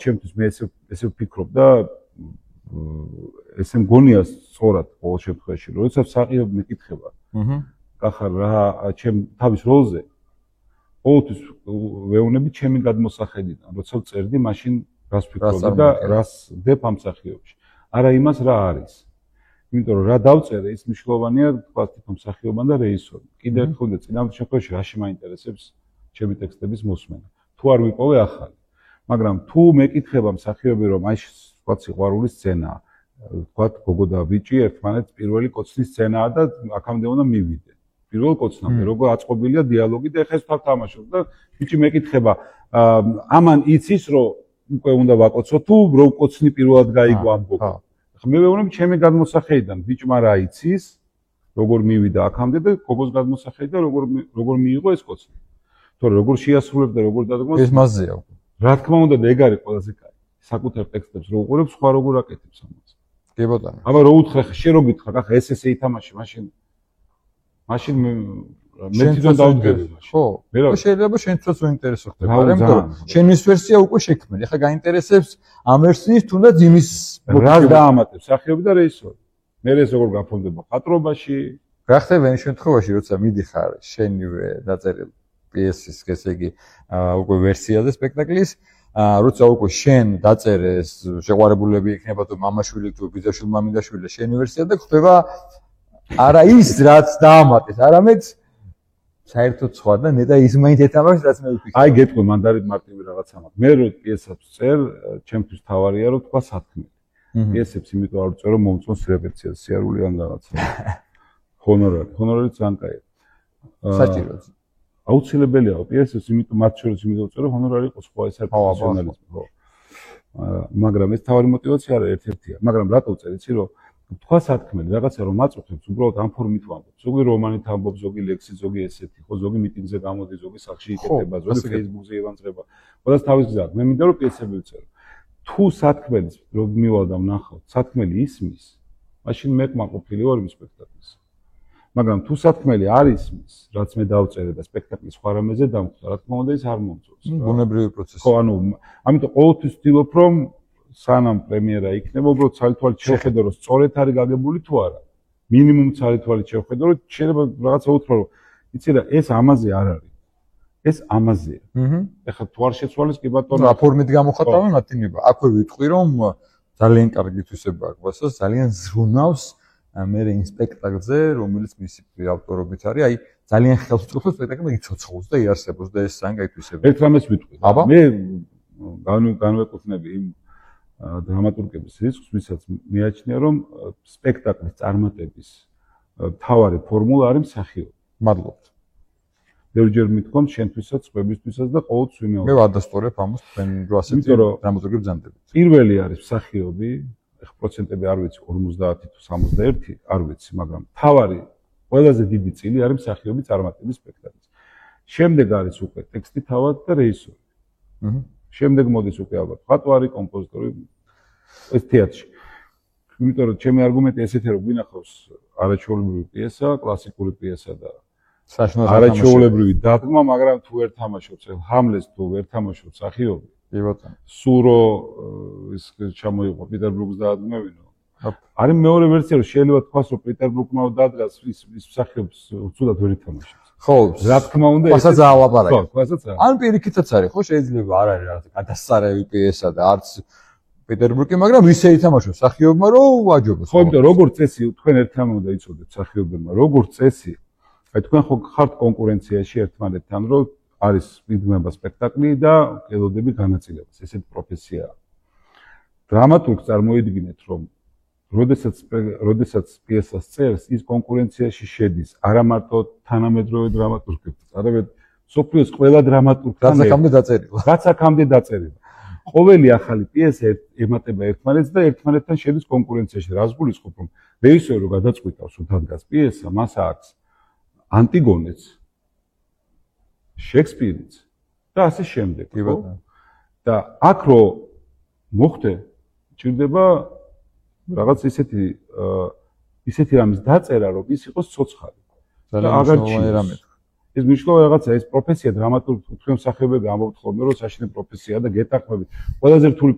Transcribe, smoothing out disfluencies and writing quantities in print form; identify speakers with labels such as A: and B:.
A: ჩემთვის მე ესე ვფიქრობ და ესე მგონია სწორად ყოველ შემთხვევაში, როდესაც მსახიობი მეკითხება. კახარ რა ჩემ თავის როლზე ყოველთვის ვეუბნები ჩემი გადმოსახედიდან, როცა წერდი, მაშინ რას ვფიქრობდი და რას ვდებ ამ მსახიობში. არა იმას რა არის. იმიტომ რომ რა დავწერე, ის მნიშვნელოვანია თქვა თვითონ მსახიობმა და რეჟისორმა. კიდევ ერთხელ და წინამორბედი შემთხვევაში რაში მაინტერესებს ჩემი ტექსტების მოსმენა. თუ არ ვიპოვე ახალი. მაგრამ თუ მეკითხება მსახიობი რომ აი თქვა სიყვარული სცენაა, თქვა გოგო და ბიჭი ერთმანეთს პირველი კოცნის სცენაა და აქამდე უნდა მივიდე. პირველ კოცნამდე როგორ აწყობილია დიალოგი და ეხლა ეს თავ თამაშობს და ბიჭი მეკითხება ამან იცის რომ უკვე უნდა ვაკოცო თუ რო კოცნი პირველად გაიგო ამ გოგო. მე ვეუბნები ჩემი გადმოსახედიდან ბიჭმა რა იცის როგორ მივიდა აქამდე და გოგოს გადმოსახედიდან როგორ მიიღო ეს კოცნი. თორე როგორ შეასრულებდა როგორ დადგმას
B: ეს მასზეა უკვე.
A: რა თქმა უნდა და ეგ არის ყველაზე კაი. საკუთარ ტექსტებს რო უყურებ სხვა როგორ აკეთებს ამას.
B: კი ბატონო.
A: აბა რო უთხრა ხა შენ რო გითხრა ხა ესე ითამაში მაშინ მე თვითონ დავდგები მაშინ.
B: ხო. შეიძლება შენც უინტერესო ხდება, მაგრამ შენის ვერსია უკვე შექმნილი. ხა გაინტერესებს ამ ვერსიის თუნდაც იმის
A: რას დაამატებს მსახიობი და რეჟისორი. მე ეს როგორ გაფორმდება ხატრობაში.
B: რა ხდება იმ შემთხვევაში, როცა მიდიხარ შენივე დაწერილ პიესის, ესე იგი, უკვე ვერსიაზე სპექტაკლის, როცა უკვე შენ დაწერე ეს შეყვარებულები იქნება თუ მამაშვილი თუ ბიძაშვილი მამინდაშვილი შენი ვერსია და ხდება არა ის რაც დაამატეს, არამედ საერთოდ სხვა და ნეტა ის მაინც ეთამაშს რაც მე ვფიქრობ.
A: აი გეტყვი მანდარით მარტივი რაღაცა მაქვს. მე რო პიესებს წერ, ჩემთვის თავარია რომ თქვა სათქმელი. პიესებს იმიტომ არ ვწერ რომ მომწონს რეპეტიციაზე, სიარული ან რაღაცა. ჰონორარი ძალიან კაია.
B: საჭიროა.
A: აუცილებელია პიესებს იმიტომ მათ შორის იმიტომ ვწერ რომ ჰონორარი იყოს სხვა ეს არის პროფესიონალიზმი, ხო. მაგრამ ეს თავარი мотиваცია არა ერთ-ერთია. მაგრამ რატო ვწერ იცი რომ თქვა სათქმელი რაღაცა რომ აწუხებს უბრალოდ ამ ფორმით ვამბობ. ზოგი რომანით ამბობ, ზოგი ლექსი, ზოგი ესეთი, ხო, ზოგი მიტინგზე გამოდი, ზოგი სახლში იკეთება, ზოგი Facebook-ზე ევანძრება. ყველას თავის გზა. მე მინდა რომ პიესები ვწერო. თუ სათქმელს რომ მივალ და ვნახავ, სათქმელი ისმის, მაშინ მე კმაყოფილი ვარ იმ სპექტაკლის. მაგრამ თუ სათქმელი არ ისმის, რაც მე დავწერე და სპექტაკლის სხვა რამეზე დამხვდა, რა თქმა უნდა ის არ მომწონს.
B: ბუნებრივი პროცესი.
A: ხო, ანუ ამიტომ ყოველთვის ვცდილობ რომ სანამ პრემიერა იქნება, უბრალოდ ცალ-თვალით შევხედო რომ სწორედ არის გაგებული თუ არა. მინიმუმ ცალ-თვალით შევხედო რომ შეიძლება რაღაცა უთხრა რომ იცი რა ეს ამაზე არ არის. ეს ამაზეა. ეხლა თუ არ შეცვალეს კი ბატონო.
B: რა ფორმით გამოხატავენ მათინება. აქვე ვიტყვი რომ ძალიან კარგი თვისება აქვს, ძალიან ზრუნავს მე იმ სპექტაკლზე, რომელიც მისი ავტორობით არის, აი ძალიან ხელსწიფო სპექტაკლი იცოცხლოს და იარსებოს და ეს ძალიან კაი თვისება.
A: ერთ რამეს ვიტყვი. მე განვეკუთვნები იმ დრამატურგების რისკს, ვისაც მეაჩნია რომ სპექტაკლის წარმატების მთავარი ფორმულა არის მსახიობი.
B: მადლობთ.
A: ბევრჯერ მithkom შენთვისაც, სხვებისთვისაც და ყოველთვის ვიმეორებ.
B: მე ვადასტურებ ამას თქვენ რო ასეთი დრამატურგები ბრძანდებით.
A: პირველი არის მსახიობი, ეხლა პროცენტები არ ვიცი 50 თუ 61, არ ვიცი, მაგრამ მთავარი ყველაზე დიდი წილი არის მსახიობი წარმატების სპექტაკლის. შემდეგ არის უკვე ტექსტი თავად და რეჟისორი. შემდეგ მოდის უკვე ალბათ მხატვარი, კომპოზიტორი ეს თეატრში. იმიტომ რომ ჩემი არგუმენტი ესეთია რომ გვინახავს არაჩვეულებრივი პიესა, კლასიკური პიესა და არაჩვეულებრივი დადგმა, მაგრამ თუ ვერ თამაშობს ჰამლეტს თუ ვერ თამაშობს მსახიობი.
B: კი ბატონო.
A: სურო ის ჩამოიყო პეტერბურგს დაადგმევინო. არის მეორე ვერსია რომ შეიძლება თქვას რომ პეტერბურგმა დადგას ის მსახიობს უცუდად ვერ ითამაშებს.
B: ხო,
A: რა თქმა უნდა
B: ასაც აალაპარაკე.
A: ხო, ასაც არა.
B: ან პირიქითაც არის, ხო, შეიძლება არ არის რაღაც გადასარევი პიესა და არც პეტერბურგი, მაგრამ ისე ითამაშოს მსახიობმა რომ ვაჯობოს.
A: ხო, იმიტომ როგორც წესი თქვენ ერთმანეთს უნდა იცოდეთ მსახიობებმა, როგორც წესი, აი თქვენ ხო ხართ კონკურენციაში ერთმანეთთან, რომ არის მიგმება სპექტაკლი და ელოდები განაწილებას. ესეთი პროფესიაა. დრამატურგს წარმოიდგინეთ, რომ როდესაც პიესას წერს, ის კონკურენციაში შედის არა მარტო თანამედროვე დრამატურგებთან, არამედ სოფლიოს ყველა დრამატურგთან. რაც აქამდე დაწერილი. ყოველი ახალი პიესა ემატება ერთმანეთს და ერთმანეთთან შედის კონკურენციაში. რას გულისხმობ, რომ რეჟისორი რო გადაწყვიტავს, რომ დადგას პიესა, მას აქვს ანტიგონეც, შექსპირიც და ასე შემდეგ. და აქ რო მოხდე, ჭირდება რაღაც ისეთი რამის დაწერა, რომ ის იყოს ცოცხალი. და აღარ ჭირდება. ეს მნიშვნელოვანი რაღაცა, ეს პროფესია დრამატურგი თქვენ მსახიობები ამბობთ ხოლმე, რომ საშინე პროფესიაა და გეტახმებით. ყველაზე რთული